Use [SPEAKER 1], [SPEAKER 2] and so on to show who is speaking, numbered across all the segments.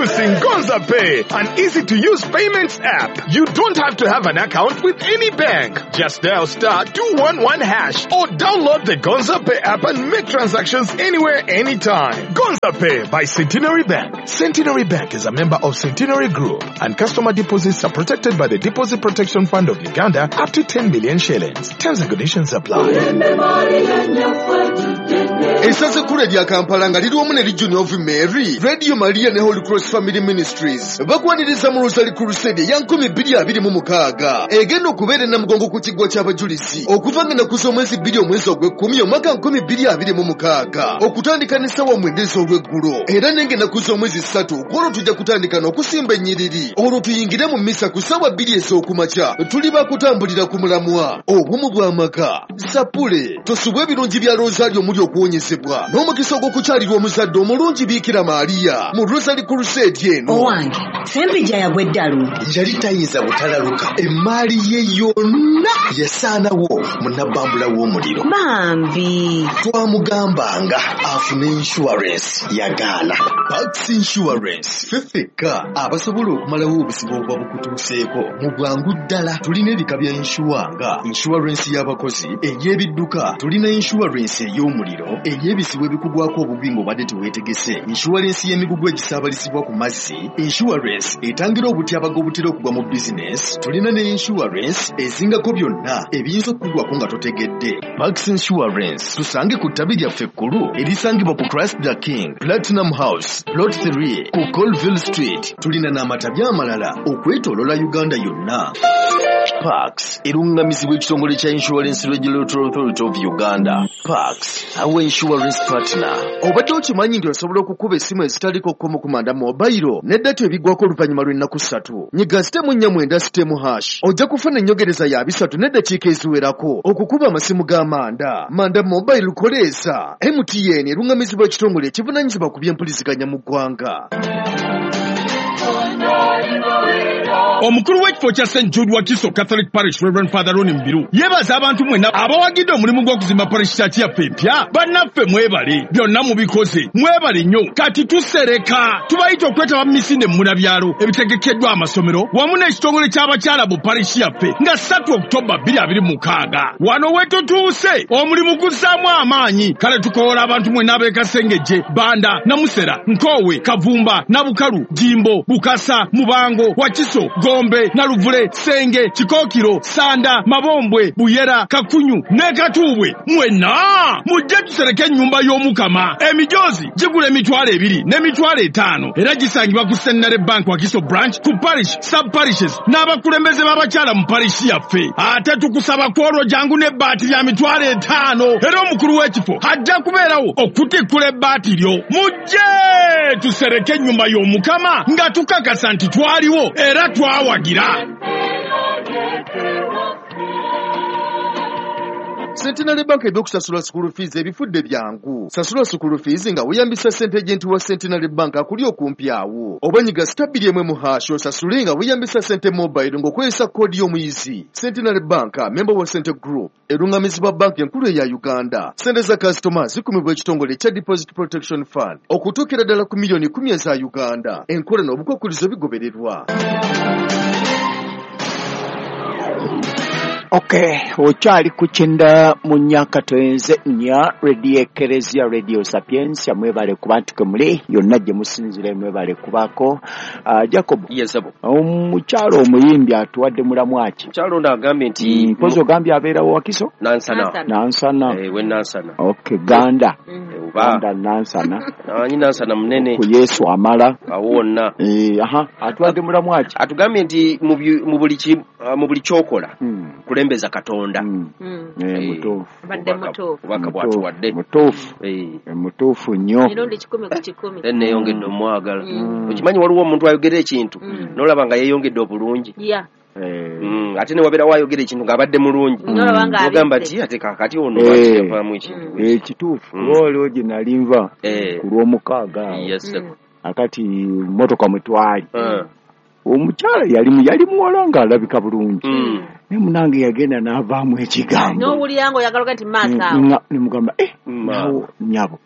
[SPEAKER 1] Introducing Gonza Pay, an easy-to-use payments app. You don't have to have an account with any bank. Just dial *211# or download the Gonza Pay app and make transactions anywhere, anytime. Gonza Pay by Centenary Bank. Centenary Bank is a member of Centenary Group, and customer deposits are protected by the Deposit Protection Fund of Uganda up to 10 million shillings. Terms and conditions apply.
[SPEAKER 2] Essaza ekkulu erya Kampala nga liri wamu ne Legion of Mary, Radio Maria ne Holy Cross Family Ministries bakwaniriza mu Rosary Crusade eya 2026 egenda okubeera e Namugongo ku kiggwa ky'abajulizi okuva nga ennaku z'omwezi 2 omwezi ogw'ekkumi omwaka 2026 okutandika n'essaawa 9 ez'olweggulo, era nenga ennaku z'omwezi 3 kwolwo tujja kutandika n'okusimba ennyiriri, olwo tuyingire mu mmisa ku ssaawa 2 ez'okumakya. Tuli bakutambulira ku mulamwa obumu bw'amaka. Sapule tosubwa ebirungi bya Rosario omuli okuwonyezebwa n'omukisa ogw'okukyalirwa omuzadde omulungi Biikira Maria mu Rosary Crusade eno.
[SPEAKER 3] Owange, Ssempijja yagwa eddalu.
[SPEAKER 2] Yali tayinza butalaluka, emmaali ye yonna yasaanawo mu nabbambula w'omuliro.
[SPEAKER 3] Bambi
[SPEAKER 2] twamugambanga afune insurance, yagaana. Pax Insurance ffe ffekka abasobola okumalawo obuzibu obuba bukutuuseeko mu bwangu ddala. Tulina ebika bya insure nga insurance y'abakozi, ey'ebidduka, tulina insurance ey'omuliro, ey'ebizibu ebikugwako obubi ng'obadde teweetegese, insurance y'emigugu egisaabalizibwa ku mazzi, insurance etangira obutyabaga obutera okugwa mu bizinesi, tulina ne insurance ezingako byonna ebiyinza okukugwako nga totegedde. Pax Insurance tusange ku ttabi lyaffe ekkulu erisangibwa ku Christ the King Platinum House Plot 3 ku Colville Street. Tulina n'amatabi amalala okwetooloola Uganda yonna. Pax erungamizibwa ekitongole kya Insurance Regulatory Authority of Uganda. Pax, our insurance partner. Obadde okimanyi nti osobola okukuba essimu ezitaliko kkomo ku Manda Mobile ne data ebigwako oluvannyuma lw'ennaku 3. Nyiga *490*# ojja kufuna ennyogereza ya 3 n'eddakiika eziwerako okukuba amasimu ga Manda. Manda Mobile koleesa. MTN erungamizibwa ekitongole ekivunaanyizibwa ku by'empuliziganya mu ggwanga.
[SPEAKER 1] Omukulu w'ekifo kya St. Jude Wakiso Catholic Parish Reverend Father Ronnie Mbiru yeebaza abantu mwenna abawagidde omulimu gw'okuzimba parish church yaffe empya. Bannaffe mwebale, byonna mubikoze, mwebale nnyo. Kati tusereka, tubayita okwetaba mu misinde munabyalo ebitegekeddwa amasomero wamu n'ekitongole ky'abakyala mu parish yaffe nga 3 Oktoba 2026. Wano we tutuuse omulimu guzzaamu amaanyi. Kale tukoola abantu mwenna ab'e Kasengejje, Banda, Namusera, Nkoowe, Kavumba, Nabukalu, Jimbo, Bukasa, Mubango, Wakiso, Gombe, Naluvule, Senge, Kikokiro, Sanda, Mabombwe, Buyera, Kakunyu ne Katuubwe. Mwenna mujje tusereke ennyumba y'Omukama. Emijoozi gigula 20,000 n'emitwalo 5 era gisangibwa ku Centenary Bank Wakiso Branch, ku parish, sub parishes n'abakulembeze b'abakyala mu parish yaffe. Ate tukusaba kwolwo jangu n'ebbaati lya 5,000 era omukulu w'ekifo ajja kubeerawo okutikkula ebbaati lyo. Mujje tusereke ennyumba y'Omukama nga tukakasa nti twaliwo era twawagira.
[SPEAKER 2] Centenary Bank ebyokusasula school fees ebifudde byangu. Sasula school fees nga weeyambisa ssente agent wa Centenary Bank akuli okumpi awo. Oba nyiga *2 # osasule nga weeyambisa ssente mobile ng'okozesa koodi y'omuyizi. Centenary Bank, member wa Cente Group, erungamizibwa banki enkulu eya Uganda. Ssente za kasitoma zikumibwa ekitongole ekya Deposit Protection Fund okutuukira ddala ku miliyoni 10 eza Uganda. Enkola n'obukwakkulizo bigobererwa.
[SPEAKER 4] Okay, okyali ku 94.4 Radio Ekeresia, Radio Sapientia. Mwebale kuba nti muli yonna gye musinzire, mwebale kubaako. Jacob,
[SPEAKER 5] Yes, sebo.
[SPEAKER 4] Omukyalo omuyimbi atuwadde mulamu ki?
[SPEAKER 5] Mukyalo ono agambye nti
[SPEAKER 4] Mpozi ogambye abeerawo Wakiso?
[SPEAKER 5] Nansana.
[SPEAKER 4] Nansana.
[SPEAKER 5] We Nansana.
[SPEAKER 4] Okay, Ganda.
[SPEAKER 5] Oba.
[SPEAKER 4] Ganda Nansana.
[SPEAKER 5] Namanyi Nansana munene.
[SPEAKER 4] Ku Yesu amala.
[SPEAKER 5] Awo wonna.
[SPEAKER 4] Aha, atuwadde mulamu ki?
[SPEAKER 5] Atugambye nti mu buli kyokola kulembeza Katonda.
[SPEAKER 4] Mutuufu.
[SPEAKER 6] Badde mutuufu.
[SPEAKER 5] Obubaka bw'atuwadde.
[SPEAKER 4] Mutuufu. Mutuufu nnyo.
[SPEAKER 6] Emirundi 100 ku 100.
[SPEAKER 5] Then neeyongedde omwagala. Okimanyi waliwo omuntu ayogera ekintu n'olaba nga yeeyongedde obulungi. Ate ne wabeerawo ayogera ekintu ng'abadde mulungi.
[SPEAKER 6] N'olaba nga
[SPEAKER 5] Ogamba
[SPEAKER 6] abisse.
[SPEAKER 5] nti ate kaakati ono lwaki yavaamu ekintu.
[SPEAKER 4] Kituufu. Olwo gye nali nva ku Lwomukaaga awo.
[SPEAKER 5] Yes, sir.
[SPEAKER 4] Akati mmotoka mwe twali. Omukyala yali muwala ng'alabika bulungi. Naye munange yagenda n'avaamu ekigambo.
[SPEAKER 6] N'owulira ng'oyagala oga nti maaso awo.
[SPEAKER 4] Ne mugamba, naawo nnyabo.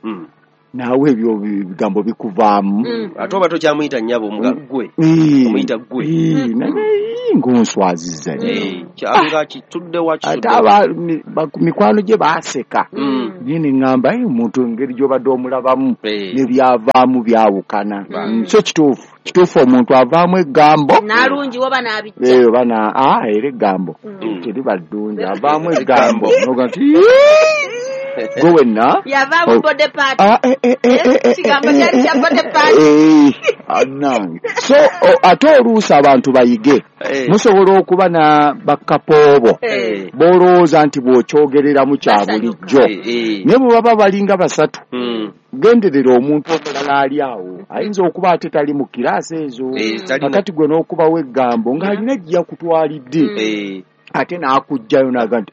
[SPEAKER 4] Naawe ebyo ebigambo bikuvaamu.
[SPEAKER 5] Ate oba tokyamuyita nnyabo gwe. Omuyita gwe.
[SPEAKER 4] Naye ng'onswazizza nnyo.
[SPEAKER 5] Kyanga kitudde wa
[SPEAKER 4] kitudde. Ate mikwano gye baaseka. Naye ne ŋŋamba omuntu engeri gy'obadde omulabamu n'ebyavaamu byawukana. So kituufu. Kituufu omuntu avaamu eggambo.
[SPEAKER 6] N'alungi oba n'abijja.
[SPEAKER 4] Oba era eggambo. Teriba ddungi avaamu eggambo. N'oga nti gwe wenna.
[SPEAKER 6] Yavaamu body part. Ekigambo kyali kya body part.
[SPEAKER 4] Nange. So ate oluusi abantu bayige. Musobola okuba na bakapoobo. B'olowooza nti bw'okyogereramu kya bulijjo. Naye bwe baba balinga basatu. Genderera omuntu omulala ali awo ayinza okuba ate tali mu kiraasi ezo kakati gwe n'okubawo eggambo ng'alina gye yakutwalidde ate n'akugjayo n'aga nti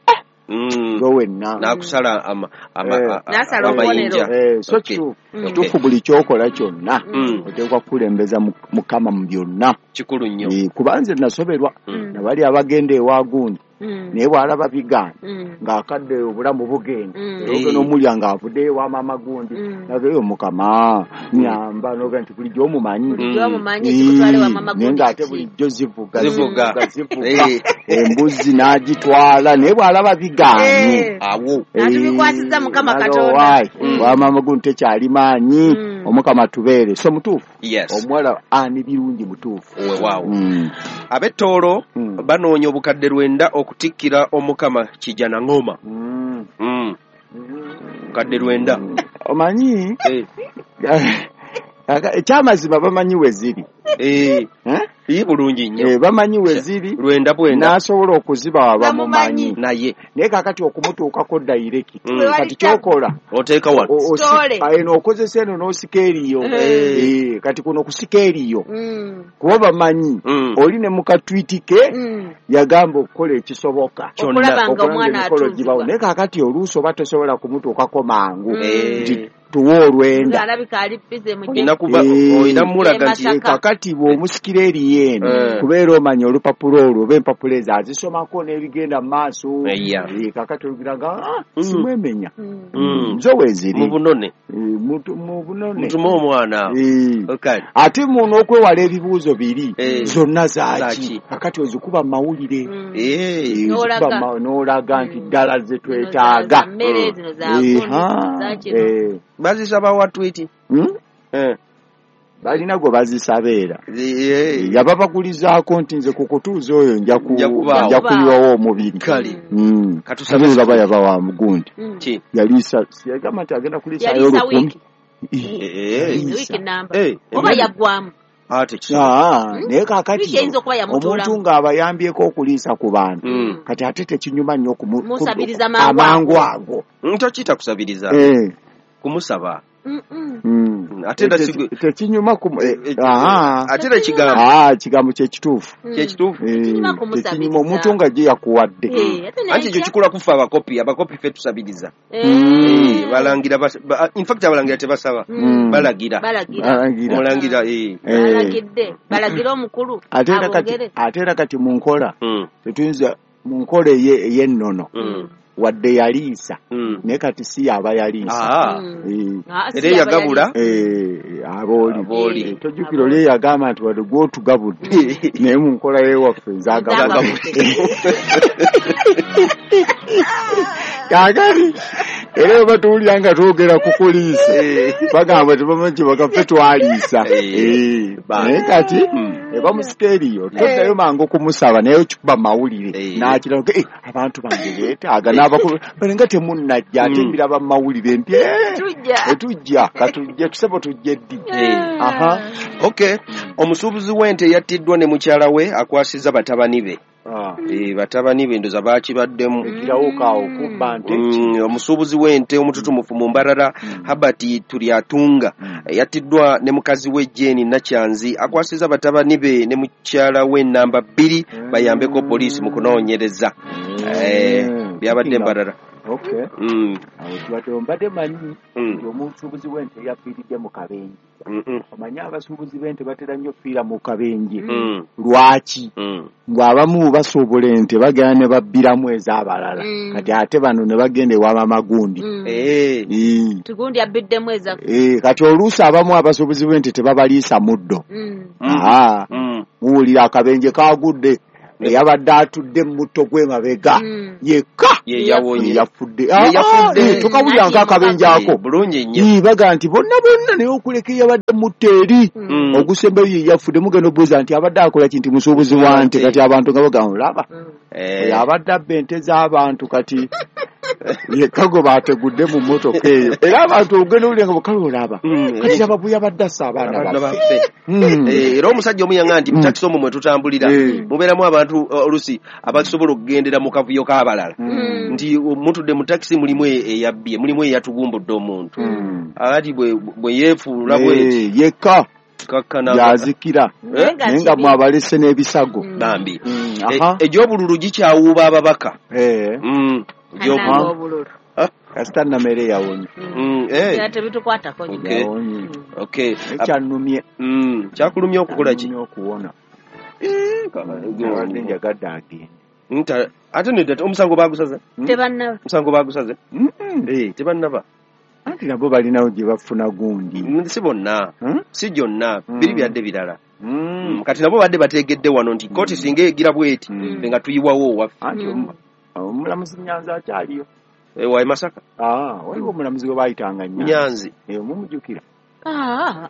[SPEAKER 4] gwe wenna
[SPEAKER 5] n'akusala amayinja.
[SPEAKER 4] So kituufu buli ky'okola kyonna oteekwa kukulembeza Mukama mu byonna.
[SPEAKER 5] Kikulu nnyo.
[SPEAKER 4] Kuba nze nasoberwa nabali abagenda ewa gundi naye bw'alaba bigaana ng'akadde obulamu bugenda era n'omulya ng'avuddeyo ewa maama gundi nageyo Mukama nyamba n'oga nti bulijjo omumanyi naye ng'ate bulijjo zivuga embuzi n'agitwala naye bw'alaba bigaanye
[SPEAKER 5] awo
[SPEAKER 6] n'atubikwasiza Mukama Katonda
[SPEAKER 4] wa maama gundi tekyali maanyi Omukama tubeere. So mutuufu omuwala ani birungi mutuufu.
[SPEAKER 5] Weewaawo. Ab'ettoolo banoonya obukadde 9 okutikkira Omukama Kijana Ngoma. Obukadde 9.
[SPEAKER 4] Omanyi ekyamazima bamanyi we ziri.
[SPEAKER 5] Bulungi nnyo.
[SPEAKER 4] Bamanyi we ziri
[SPEAKER 5] 9
[SPEAKER 4] n'asobola okuzibawa bamumanyi.
[SPEAKER 5] Naye
[SPEAKER 4] kaakati okumutuukako direct. Kati ky'okola
[SPEAKER 5] oteeka wano.
[SPEAKER 4] Eno okozesa eno n'osika eriyo. Kati kuno kusika eriyo. Kuba bamanyi oli ne mu katwiti ke yagamba okukola ekisoboka.
[SPEAKER 6] Okulaba nga omwana atuuzibwa.
[SPEAKER 4] Naye kaakati oluusi oba tosobola kumutuukako mangu. Tuwe olwenda.
[SPEAKER 5] Olina mulaga nti
[SPEAKER 4] kakati bw'omusikira eriyo eno kubeera omanya olupapula olwo oba empapula ezo azisomako n'ebigenda mu maaso. Kakati olugira nga simwemenya. Zo weeziri.
[SPEAKER 5] Mu bunone.
[SPEAKER 4] Mu bunone.
[SPEAKER 5] Mutume omwana.
[SPEAKER 4] Ate muno okwewala ebibuuzo biri zonna zaaki. Kakati ozikuba mu mawulire. N'olaga nti ddala ze twetaaga.
[SPEAKER 5] Bazisaba wa twiti.
[SPEAKER 4] Balina gwe bazisaba era. Yababagulizaako nti nze ku kutuuza oyo nja kuyiwawo omubiri.
[SPEAKER 5] Kale.
[SPEAKER 4] Katusabe yaba wa mugundi. Yaliisa yagamba nti agenda kuliisaayo 1000.
[SPEAKER 6] Wiiki namba. Oba yaggwamu.
[SPEAKER 4] Naye kaakati omuntu ng'abayambyeko okuliisa ku bantu kati ate tekinyuma nnyo amangu ago.
[SPEAKER 5] Tokiyita kusabiriza. Kumusaba. Ate
[SPEAKER 4] tekinyuma
[SPEAKER 5] ate ekigambo
[SPEAKER 4] kigambo kye kituufu.
[SPEAKER 5] Kye kituufu.
[SPEAKER 4] Tekinyuma omuntu nga gye yakuwadde.
[SPEAKER 5] Anti ekyo kikola kufa abakopi ffe tusabiriza. Balangira in fact abalangira tebasaba. Balagira. Omulangira
[SPEAKER 6] balagidde. Balagira omukulu.
[SPEAKER 4] Ate era kati mu nkola tetuyinza mu nkola ey'ennono. Wadde yaliisa naye kati si yaba yaliisa.
[SPEAKER 5] Era yagabula
[SPEAKER 4] abooli. Tojjukira oli yagamba nti wadde gw'otugabudde naye mu nkola y'ewaffe nze agabudde. Kaakati era bwe batuwulira nga twogera ku kuliisa bagamba tebamanyi kye bagaffe twaliisa. Naye kati bamusika eriyo toddayo mangu okumusaba naye okikuba mawulire n'akira abantu bange beetaaga n'abakulu balinga temunnajja ate mbiraba mu mawulire nti etujja katujje tusebo tujje ddi.
[SPEAKER 5] Okay. Omusuubuzi w'ente yattiddwa ne mukyala we akwasizza batabani be. Batabani be ndoza bakibaddemu. Omusuubuzi w'ente omututumufu mu Mbarara Herbert Turyatunga yattiddwa ne mukazi we Jane Nakyanzi akwasizza batabani be ne mukyala we namba 2 bayambeko poliisi mu kunoonyereza. Byabadde Mbarara.
[SPEAKER 4] Okay. Awo tubadde mbadde manyi nti omusuubuzi w'ente yafiiridde mu kabenje. Omanyi abasuubuzi b'ente batera nnyo okufiira mu kabenje. Lwaki? Ng'abamu basuubula ente bagenda ne babbiramu ez'abalala. Kati ate bano ne bagenda ewa Mamagundi.
[SPEAKER 6] Tugundi abbiddemu eza.
[SPEAKER 4] Kati oluusi abamu abasuubuzi b'ente tebabaliisa muddo. Muwulira akabenje kagudde. Yabadde atudde mu mutto gw'emabega yekka yafudde. Tukawulira nk'akabenje ako
[SPEAKER 5] bulungi nnyo.
[SPEAKER 4] Baga nti bonna bonna naye okuleka eyabadde mutto eri ogusembayo ye yafudde. Mugenda obuuza nti abadde akola ki nti musuubuzi wa nte. Kati abantu nga bagamba olaba oyo abadde abba ente z'abantu kati yekka gwe baategudde mu mmotoka eyo. Era abantu ogenda owulira nga bukale olaba kati aba bwe yabadde assa abaana baffe.
[SPEAKER 5] Era omusajja omu yaŋŋamba nti mu takisi omwo mwe tutambulira mubeeramu abantu oluusi abasobola okugendera mu kavuyo k'abalala. Nti mutudde mu takisi mulimu eyabbye, mulimu eyatugumbudde omuntu. Ati bwe yeefuula bweti
[SPEAKER 4] yekka yazikira naye nga mwabalese n'ebisago.
[SPEAKER 5] Bambi egy'obululu gikyawuuba ababaka.
[SPEAKER 6] Egy'obululu
[SPEAKER 4] kasita Namere yawonye.
[SPEAKER 6] Tebitukwatako
[SPEAKER 4] nnyo. Ekyannumye.
[SPEAKER 5] Kyakulumye okukola ki?
[SPEAKER 4] Okuwona. Abadde njagadde agende.
[SPEAKER 5] Ate nedda omusango baagusaze?
[SPEAKER 6] Tebannaba.
[SPEAKER 5] Omusango baagusaze? Tebannaba.
[SPEAKER 4] Anti nabo balinawo gye bafuna gundi.
[SPEAKER 5] Si bonna. Si gyonna. Biri byadde birala. Kati nabo badde bategedde wano nti kkooti singa egira bweti nga tuyiwawo owaffe.
[SPEAKER 4] Anti omulamuzi Nyanzi akyaliyo.
[SPEAKER 5] Wa Masaka?
[SPEAKER 4] Waliwo omulamuzi gwe baayitanga
[SPEAKER 5] Nyanzi.
[SPEAKER 4] Mumujjukira?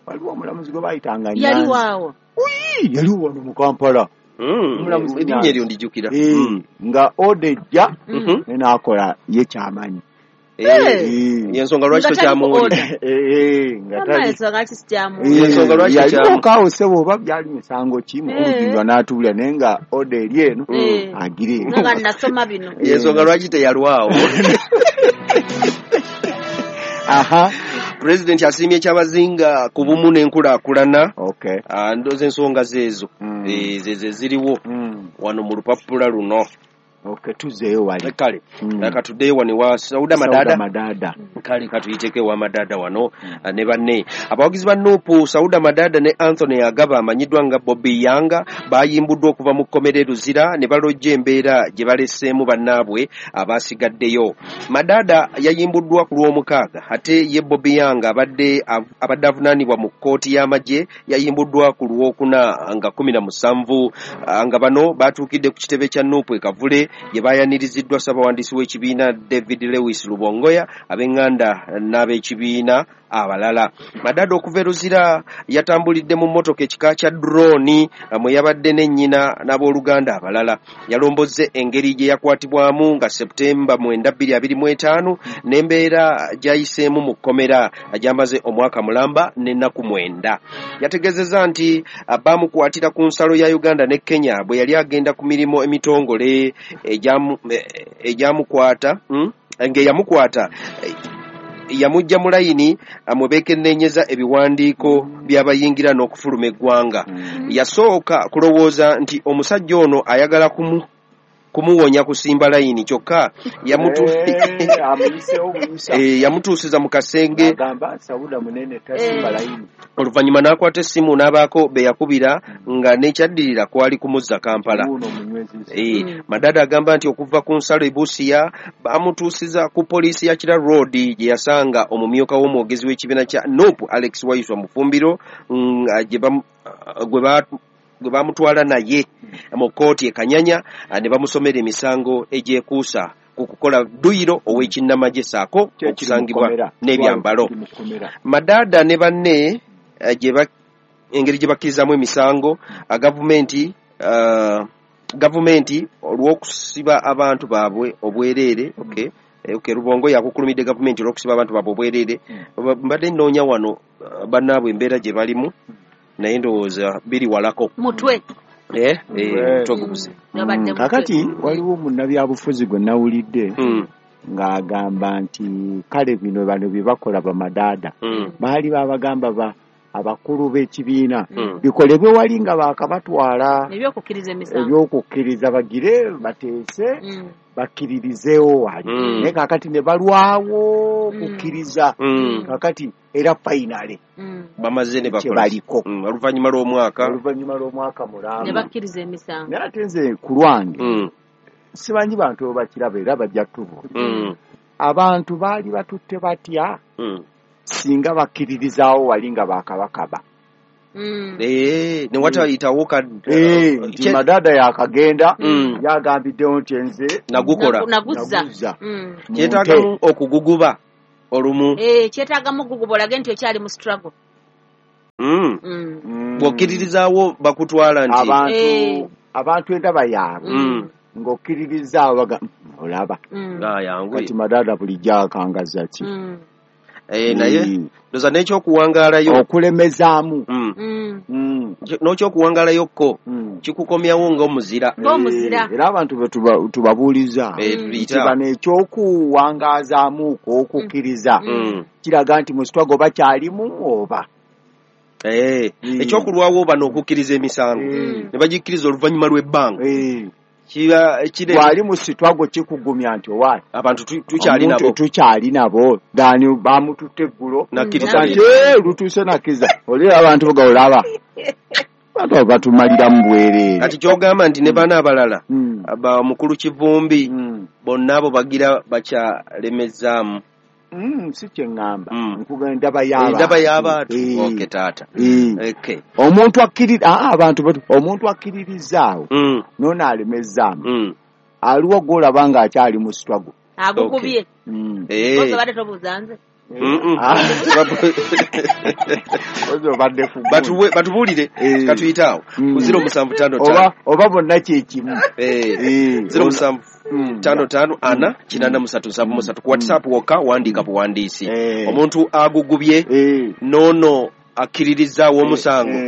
[SPEAKER 4] Waliwo omulamuzi gwe baayitanga Nyanzi.
[SPEAKER 6] Yali waawo.
[SPEAKER 4] Yaliwo wano mu Kampala.
[SPEAKER 5] Erinnya eryo ndijjukira.
[SPEAKER 4] Nga oda ejja ne n'akola ye kyamanyi.
[SPEAKER 5] Yensonga lwaki tokyamuwulira?
[SPEAKER 4] Yaliwo kaawo ssebo oba byali misango ki mukulu Jjinjwa n'atuwulira naye nga oda eri eno agira eno.
[SPEAKER 6] Nga nasoma bino.
[SPEAKER 5] Yensonga lwaki teyalwawo? Pulezidenti asiimye Kyabazinga ku bumu n'enkulaakulana. Ndowooza ensonga zeezo zezo ziriwo wano mu lupapula luno.
[SPEAKER 4] Tuzeeyo wali.
[SPEAKER 5] Kale katuddeyo wano ewa Sauda Madada. Kale katuyiteko ewa Madada wano ne banne. Abawagizi ba Nuupu Sauda Madada ne Anthony Agaba amanyiddwa nga Bobi Yanga bayimbuddwa okuva mu kkomera e Luzira ne balojja embeera gye baleseemu bannaabwe abasigaddeyo. Madada yayimbuddwa ku Lwomukaaga ate ye Bobi Yanga abadde avunaanibwa mu kkooti y'amagye yayimbuddwa ku Lwokuna nga 17 nga bano batuukidde ku kitebe kya Nuupu e Kavule gye bayaniriziddwa ssabawandiisi w'ekibiina David Lewis Lubongoya, ab'enganda n'ab'ekibiina abalala. Madada okuva e Luzira yatambulidde mu mmotoka ekika kya drone mwe yabadde ne nnyina n'abooluganda abalala. Yalombozze engeri gye yakwatibwamu nga Septemba 9, 2025 n'embeera gy'ayiseemu mu kkomera gy'amaze omwaka mulamba n'ennaku 9. Yategeezezza nti baamukwatira ku nsalo ya Uganda ne Kenya bwe yali agenda ku mirimu emitongole egyamukwata ng'eyamukwata yamujja mu layini mwe beekenneenyeza ebiwandiiko by'abayingira n'okufuluma eggwanga. Yasooka kulowooza nti omusajja ono ayagala kumuwonya kusimba layini kyokka yamutuusiza mu kasenge oluvannyuma n'akwata essimu n'abaako be yakubira nga n'ekyaddirira kwali kumuzza Kampala. Madada agamba nti okuva ku nsalo e Busia bamutuusiza ku poliisi ya Kira Road gye yasanga omumyuka w'omwogezi w'ekibiina kya NUP Alex Waiswa Mufumbiro gwe bamutwala naye mu kkooti e Kanyanya ne bamusomera emisango egyekuusa ku kukola dduyiro ow'ekinnamagye ssaako okusangibwa n'ebyambalo. Madada ne banne engeri gye bakkirizaamu emisango gavumenti olw'okusiba abantu baabwe obwereere. Rubongo yakukulumidde gavumenti olw'okusiba abantu baabwe obwereere. Mbadde nnoonya wano bannaabwe embeera gye balimu naye ndowooza biri walako
[SPEAKER 6] mutwe
[SPEAKER 5] mutwe.
[SPEAKER 4] Kakati waliwo munnabyabufuzi gwe nawulidde ng'agamba nti kale bino bano bye bakola bamadaada baali babagamba abakulu b'ekibiina bikolebwe wali nga baakabatwala ebyokukkiriza bagire bateese bakkiririzeewo wali naye kaakati ne balwawo kukkiriza kaakati era finally
[SPEAKER 5] bamaze ne bakola
[SPEAKER 4] baliko
[SPEAKER 5] oluvannyuma
[SPEAKER 4] lw'omwaka mulamba
[SPEAKER 6] ne bakkiriza emisango.
[SPEAKER 4] Naye ate nze ku lwange simanyi bantu bakiraba era bajja tubo abantu baali batutte batya singa bakkiririzaawo wali nga baakabakaba
[SPEAKER 5] ne watayitawo
[SPEAKER 4] nti Madada yakagenda yagambiddewo nti nze
[SPEAKER 5] nagukola
[SPEAKER 6] naguzza
[SPEAKER 5] kyetaagamu okuguguba olumu
[SPEAKER 6] kyetaagamu okuguguba olage nti okyali mu struggle
[SPEAKER 5] bw'okkiririzaawo bakutwala
[SPEAKER 4] nti abantu endaba yaabwe ng'okkiririzaawo baga olaba kati Madada bulijjo akangaza ki
[SPEAKER 5] naye ndoza n'ekyokuwangaalayo
[SPEAKER 4] okulemezaamu
[SPEAKER 5] n'ekyokuwangaalayo ko kikukomyawo ng'omuzira
[SPEAKER 4] era abantu be tubabuuliza nti bano ekyokuwangaazaamu okukkiriza kiraga nti mu struggle bakyalimu oba
[SPEAKER 5] ekyokulwawo bano okukkiriza emisango ne bagikkiriza oluvannyuma lw'ebbanga
[SPEAKER 4] wali mu struggle kikugumya nti owa
[SPEAKER 5] abantu tukyali nabo
[SPEAKER 4] tukyali nabo dani bamututte eggulo
[SPEAKER 5] nakkiriza
[SPEAKER 4] lutuuse nakkiriza oli abantu baga olaba abantu batumalira mu bwereere.
[SPEAKER 5] Kati ky'ogamba nti ne bano abalala mukulu Kivumbi bonna abo bagira bakyalemezaamu.
[SPEAKER 4] Si kye ŋŋamba nkugamba endaba
[SPEAKER 5] y'abantu okay taata okay
[SPEAKER 4] omuntu akkirira abantu omuntu akkiririzaawo n'ono alemezaamu aliwo gw'olaba ng'akyali mu struggle
[SPEAKER 6] agukubye obadde tobuuza nze
[SPEAKER 5] batubuulire katuyite awo ku 0755
[SPEAKER 4] oba bonna kyekimu
[SPEAKER 5] 07 55 4 83 73 ku WhatsApp wokka wandiika buwandiisi omuntu agugubye n'ono akkiririzaawo omusango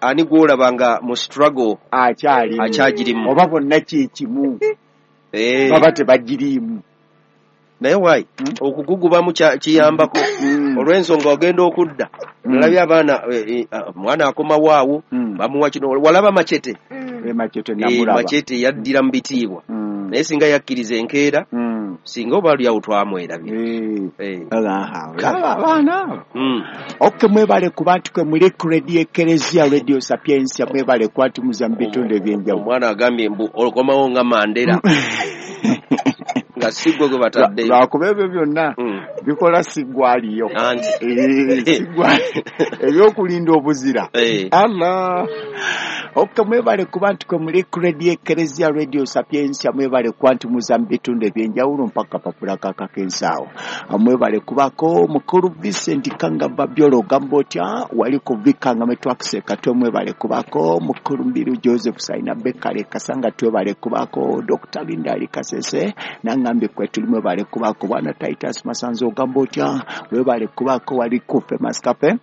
[SPEAKER 5] ani gw'olaba nga mu struggle akyagirimu
[SPEAKER 4] oba bonna kyekimu baba tebagiriimu.
[SPEAKER 5] Naye wayi okugugubamu kiyambako olw'ensonga ogenda okudda nalabye abaana mwana akomawo awo bamuwa kino walaba Machete Machete yaddira mu bitiibwa naye singa yakkiriza enkeera singa oba lyawo twamwerabye
[SPEAKER 4] abaana okay mwebale kuba nti kwe muli ku Radio Ekereziya Radio Sapientia mwebale kuba nti muza mu bitundu ebyenjawulo.
[SPEAKER 5] Omwana agambye mbu okomawo nga Mandela nga sigwe gwe bataddeyo
[SPEAKER 4] lwakuba ebyo byonna bikola siggwaliyo ebyokulinda obuzira Allah. Okay mwebale kuba nti kwe muli ku Radio Ekereziya Radio Sapientia mwebale kuba nti muza mu bitundu ebyenjawulo mpaka papula kakakensaawo mwebale kubako mukulu Vincent Kanga Babyolo ogamba otya wali ku Vikanga metwakise katwe mwebale kubako mukulu Mbiru Joseph Saina Bekale Kasanga twebale kubako Dr. Linda Ali Kasese nangambye kwe tuli mwebale kubako bwana Titus Masanzo ogamba otya webale kubako wali ku Famous Cafe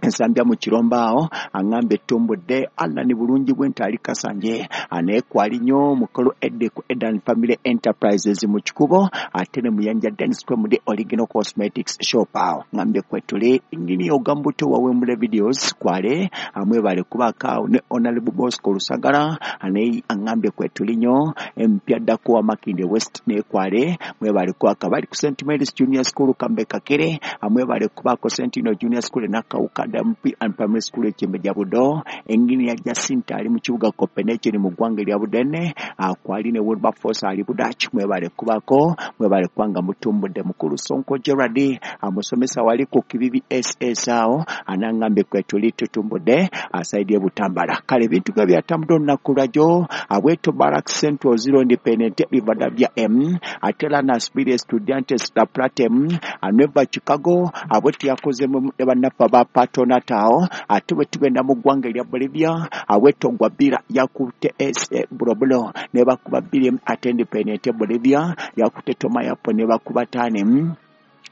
[SPEAKER 4] ensambya mu kiromba awo aŋŋamba ettumbudde Allah ni bulungi bwe nti ali Kasanje naye kwali nnyo mukulu Edde ku Edan Family Enterprises mu Kikubo ate ne Muyanja Dennis kwe muli Original Cosmetics Shop awo ŋŋambye kwe tuli ngini ogamba otya wawemule videos kwale amwebale kubaako awo ne Honorable Bosco Lusagala naye aŋŋambye kwe tuli nnyo empya ddako wa Makindye West ne kwale mwebale kubaako abali ku St Mary's Junior School Kambe Kakere amwebale kubaako Sentinel Junior School Nakawuka MP and Primary School ekyembe Budo engini ya Jacinta ali mu kibuga Copenhagen mu ggwanga erya Budene kwali ne Wilberforce ali Budachi mwebale kubako mwebale kubanga mutumbudde mukulu Sonko Gerard amusomesa wali ku Kibibi SS awo anangambe kwe tuli tutumbudde asaidie Butambala kale ebintu nga byatambudde olunaku lwajjo abweto Barrack Central 0 Independent Rivadavia M atela na Spirit Estudiantes la Platem aneva Chicago abweto yakozemu ne bannaffe aba Patonatao ate bwe tugenda mu ggwanga erya Bolivia aweto Gwabira yakutte SA Bulobulo ne bakuba 2 ate Independent Bolivia yakutte Tomayapo ne bakuba 5.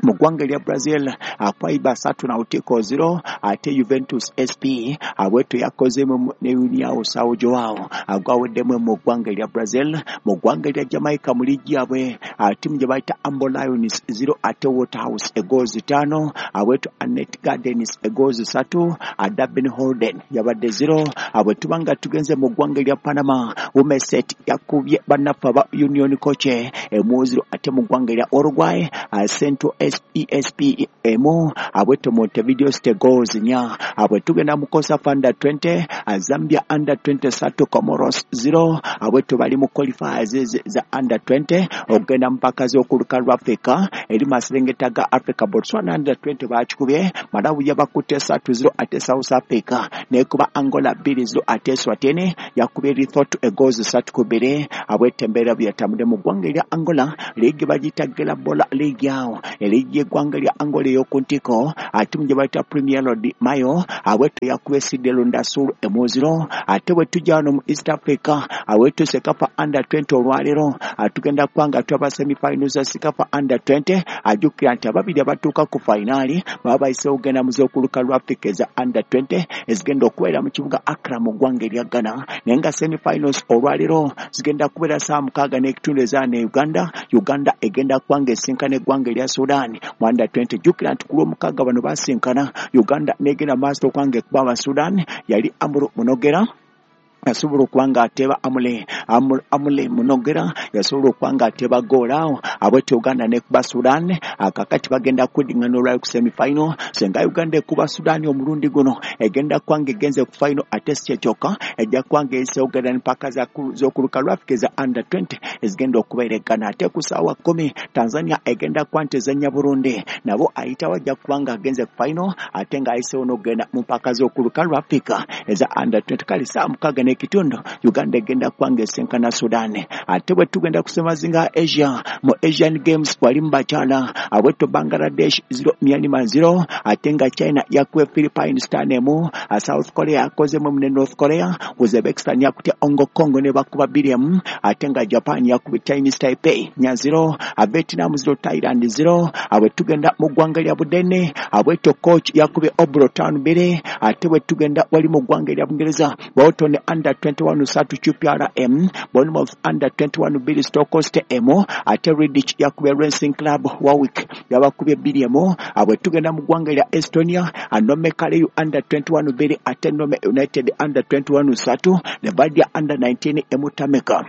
[SPEAKER 4] Mu ggwanga erya Brazil, Akwaiba 3 Nautico 0, ate Juventus SP abweto yakozemu ne União São João agwaweddemu mu ggwanga erya Brazil. Mu ggwanga erya Jamaica mu liigi yabwe, ttiimu gye bayita Ambo Lions 0 ate Waterhouse egoozi 5, abweto Annette Gardens egoozi 3, Dabin Holden yabadde 0. Bwe tuba nga tugenze mu ggwanga erya Panama, Womeset yakubye bannaffe aba Union Coche 1-0, ate mu ggwanga erya Uruguay, Central ESP emu, abweto Montevideo State goals 4. Bwe tugenda mu COSAFA under 20, Zambia under 20 3 Comoros 0, abweto bali mu qualifiers za under 20 okugenda mpaka z'okuluka lwa Africa eri maserengeta ga Africa. Botswana under 20 bakikubye Malawi yabakutte 3-0, ate South Africa nekuba Angola 2-0, ate Eswatini yakubye Lesotho egoals 3-2. Abweto embeera byatambudde mu ggwanga erya Angola, liigi bagiyita Gela Bola liigi awo liigi y'eggwanga lya Angola ey'oku ntiko, ate mu gye bayita Premier de Mayo abweto yakubye CD Lunda Sul 1-0. Ate bwe tujja wano mu East Africa, abweto CECAFA under 20 olwaleero tugenda kubanga twaba semifinals za CECAFA under 20. Ajjukira nti ababiri abatuuka ku finali baba bayiseewo okugenda mu z'okuluka lwa Africa eza under 20 ezigenda okubeera mu kibuga Accra mu ggwanga erya Ghana, naye nga semifinals olwaleero zigenda kubeera ssaawa 6:15 eza ne Uganda. Uganda egenda kubanga esinkana eggwanga erya Sudan mu under 20. Jjukira nti ku lwomukaaga bano basinkana, Uganda negenda maaso okubanga ekuba aba Sudan. Yali Amuru Munogera yasobola okuba nga ateeba Amule Munogera yasobola okuba nga ateeba goal awo, abwetyo Uganda nekuba Sudan. Kakati bagenda kuddingana olwali ku semifinal. Senga Uganda ekuba Sudan omulundi guno egenda kuba nga egenze ku final, ate si kyekyokka ejja kuba nga eyiseewo okugenda empaka z'okuluka lwa Africa eza under 20 ezigenda okubeera e Ghana. Ate ku ssaawa 10 Tanzania egenda kuba nti ezannya Burundi, nabo ayitawo ajja kuba nga agenze ku final ate ng'ayiseewo n'okugenda mu mpaka z'okuluka lwa Africa eza under 20. Kale ssaawa 6:15 Uganda egenda kubanga esinkana Sudan. Ate bwe tugenda ku ssemazinga Asia, mu Asian Games wali mu bakyala, abweto Bangladesh 0 Myanmar 0, ate nga China yakuwe Philippines 5, South Korea yakozemu ne North Korea, Uzbekistan yakutya Hong Kong ne bakuba 2, ate nga Japan yakubye Chinese Taipei 4-0, Vietnam 0 Thailand 0. Bwe tugenda mu ggwanga lya Budene, abweto coach yakubye Obro Town 2. Ate bwe tugenda wali mu ggwanga erya Bungereza, Bolton under 21 3 QPR M, Bournemouth under 21 2 Stoke M, ate Redditch yakubye Racing Club Warwick yabakubye 2. Bwe tugenda mu ggwanga lya Estonia, Nome Kaleu under 21 2 ate Nome United under 21 3 Levadia under 19 Emutameka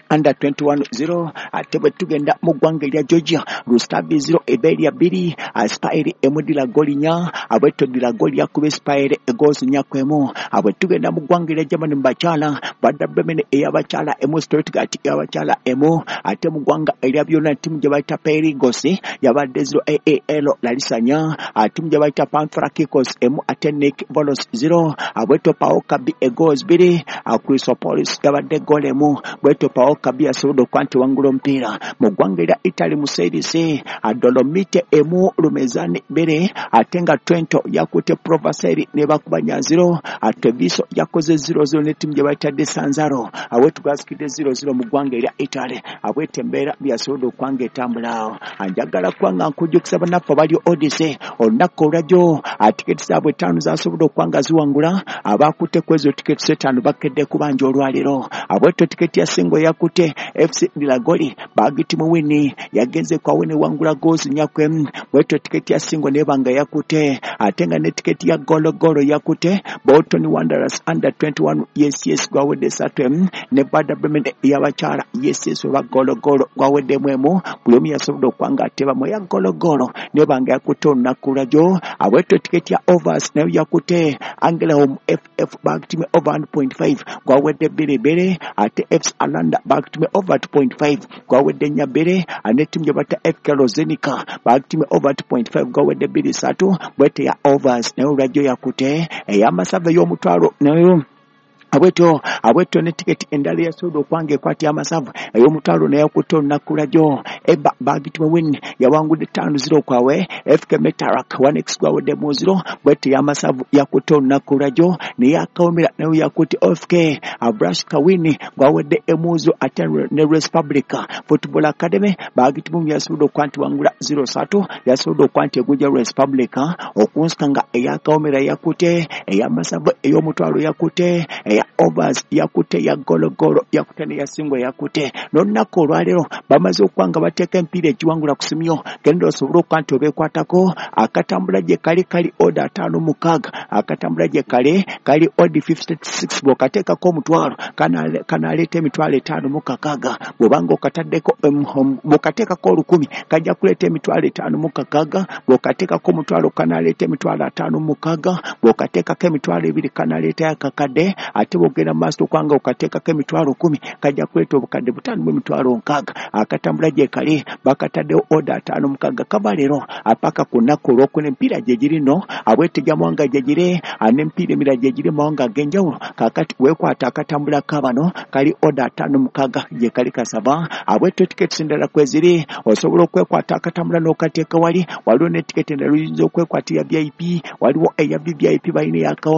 [SPEAKER 4] under 21 0. Ate bwe tugenda mu ggwanga erya Georgia, Rustavi 0 Iberia 2, Spire emudira goli 4, abweto dira goli yakubye Spire egozi 4-1. Bwe tugenda mu ggwanga erya Germany mu bakyala, Werder Bremen ey'abakyala 1, Stuttgart ey'abakyala 1, ate mu ggwanga erya byonna ttiimu gye bayita Perigos yabadde 0 AAL Larissa 4, ttiimu gye bayita Pantrakikos 1 ate Nick Volos 0, abweto PAOK B egozi 2, Chrysopolis yabadde goli 1, bweto PAOK Kabi yasobodde okuba nti wangula omupiira. Mu ggwanga erya Italy mu Serie C, Dolomite 1 Lumezani 2, ate nga Trento yakutte Provaseri ne bakuba 0, Treviso yakoze 0-0 ne ttiimu gye bayita De Sanzaro. Awetu gwasikidde 0-0 mu ggwanga erya Italy. Abwete embeera byasobodde okuba nga etambula awo. Njagala kuba nga nkujjukisa bannaffe abali Odyssey olunaku olwajjo tiketi zaabwe 5 zasobodde okuba nga ziwangula. Abakutte ku ezo tiketi 5 bakedde kubanja olwaleero. Abwetyo tiketi ya singo yakutte FC Dilagoli bagiti muwini yagenze kwa wene wangula gozi 4, bwetyo tiketi ya singo nebanga yakute, ate nga ne tiketi ya golo golo yakute Bolton Wanderers under 21 yes gwawedde 3, ne Werder Bremen y'abakyala yes oba golo golo gwawedde 1. Buli omu yasobodde okuba nga ateebamu ya golo golo nebanga yakute olunaku lwajjo. Abwetyo tiketi ya overs nayo yakute Angelholm FF bagitime over 1.5 gwawedde 2-2, ate FC Alanda bagitime over 2.5 gwawedde 4-2, ane ttiimu gye bayita FK Rozenica bagitime over 2.5 gwawedde 2-3. Bwete ya overs nayo olwajjo yakute ey'amasavu ey'omutwalo nayo
[SPEAKER 7] Abwetyo ne tiketi endala yasobodde okwanga ekwata y'amasavu ey'omutwalo naye yakutte olunaku lwajjo. Eba bagitibwa win yawangudde 5-0 kwawe FK Metarak 1x gwawedde mu 0. Bwetyo y'amasavu yakutte olunaku lwajjo naye akawomera nayo yakutte FK Abrash Kawini gwawedde emuzo ate ne Republica Football Academy bagitibwa yasobodde okwanti wangula 0-3 yasobodde okwanti egunja Republica okunsika nga eyakawomera yakutte ey'amasavu ey'omutwalo yakutte eya overs yakutte ya gologolo yakutte ne yasingwa yakutte. N'olunaku olwaleero bamaze okuba nga bateeka empiira egiwangula ku simyo genda osobole okuba nti obeekwatako. Akatambula gye kali kali oda 56, akatambula gye kali kali odi 56. Bw'okateekako omutwalo kanaleeta emitwalo 56, bw'obanga okataddeko bw'okateekako 1000 kajja kuleeta emitwalo 56, bw'okateekako omutwalo kanaleeta emitwalo 56, bw'okateekako emitwalo 2 kanaleeta akakadde, ate bw'ogenda mu maaso okwanga okateekako emitwalo 10 kajja kuleeta obukadde 5 mu emitwalo 60. Akatambula gye kali bakataddewo oda 56 kava leero apaka ku nnaku olwokuna. Emipiira gye giri nno abwetega mawanga gye giri n'emipiira emirala gye giri mawanga ag'enjawulo. Kaakati weekwata akatambula kabano kali oda 56 gye kali kasaba. Abwetyo tiketi endala kweziri osobola okwekwata akatambula n'okateeka wali. Waliwo ne tiketi endala oyinza okwekwata eya VIP, waliwo eya VVIP balina eyakawomera.